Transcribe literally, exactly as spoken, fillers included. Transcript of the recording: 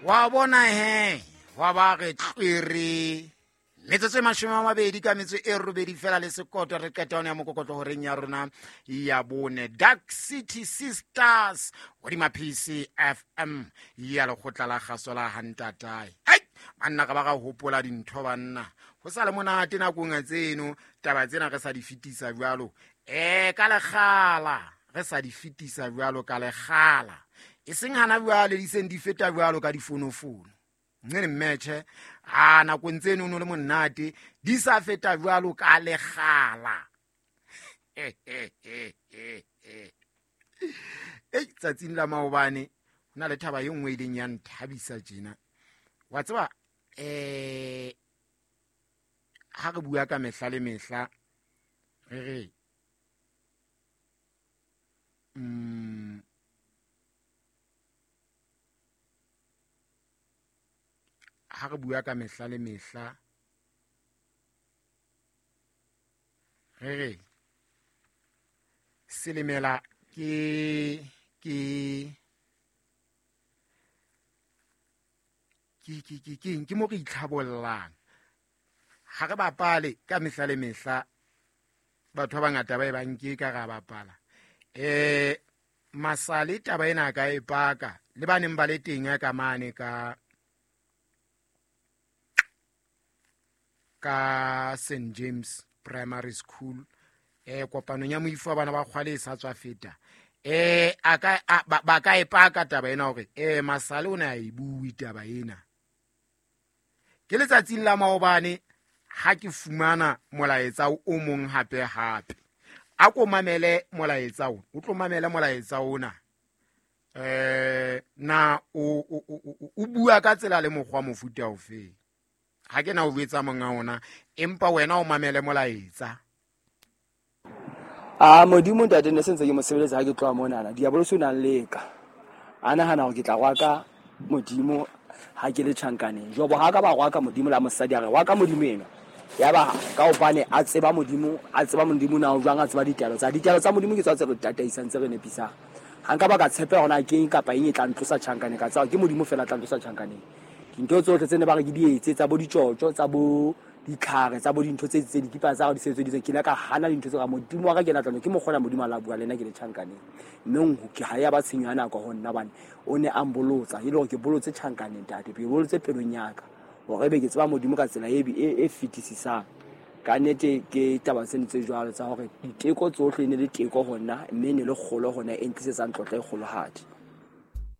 Wa bona he wa ba re tlwere metsotso e mashome a mabedi ka metso e robedi fela le sekoto re qeta yona ya mokokotlo horeng ya rona ya bone. Dark City Sisters hodima P C F M ya lekgotla la kgaso la Hantatae. Hei banna ka ba ka hopola dintho banna ho sa le monate nakong tseno taba tsena re sa di fetisa jwalo eh ka lekgala re sa di fetisa jwalo ka lekgala e seng hana jwale di seng di feta jwalo ka difonofono nne mmetjhe a nakong tseno no le monate di sa feta jwalo ka lekgala. Ei tsatsing la maobane ho na le thaba e nngwe e ileng ya nthabisa tjena. Wa tseba eh ha re bua ka mehla le mehla re re mm ha re bua ka mehla le mehla re re selemela ke ke ke ke ke ke ke mo re itlhabollang. Ha re bapale ka mehla le mehla batho ba bangata ba e ba nke ka ra bapala. Eh masale taba ena ka e paka le ba neng ba le teng ka mane ka ka Saint James Primary School eh kopanong ya moifo wa bana ba kgwale e sa tswa feta eh a ka ba ka e paka taba ena hore eh masale o ne a e bue taba ena. Ke letsatsing la maobane ha ke fumana molaetsa o mong hape hape a ko mamele molaetsa o o tlo mamele molaetsa ona eh na o o bua ka tsela le mokgwa mofuta ofe. Ha ke na o betsa monga ona empa wena o mamele molaetsa. A Modimo ntate ne sentse ke mo sebeletsa ha ke tloha monana diabolo o nang leka a nahana hore ke tla rwaka Modimo ha ke le tjhankaneng. Jobo ha ka ba rwaka Modimo la mosadi a re rwaka Modimo eno ya ba ka hobane a tseba Modimo a tseba Modimo na o jwang a tseba ditaelo tsa ditaelo tsa Modimo ke tswa tse re tataisang tse re nepisang. Ha nka ba ka tshepa hona ke eng kapa eng e tla ntlosa tjhankaneng ka tsaba ke Modimo fela tla ntlosa tjhankaneng. Dintho tsohle tse ne ba re ke di etse tsa bo ditjotjo tsa bo ditlhare tsa bo dintho tse tse dikipa tsa di sebeditseng ke ile ka hana dintho tse ka Modimo wa ka ke na tla ke mo kgona Modimo a la bua le nna ke le tjhankaneng mme ke ha ya ba tshenyo ya nako ho nna bane o ne a mbolotsa e le hore ke bolotse tjhankaneng ntate ke bolotse pelong ya ka hore ebe ke tseba Modimo ka tsela e e fetisisang. Ka nnete ke taba tseno tse jwalo tsa hore diteko tsohle e ne le teko ho nna mme e ne le kgolo ho nna e ntlisetsang tlotla e kgolohadi.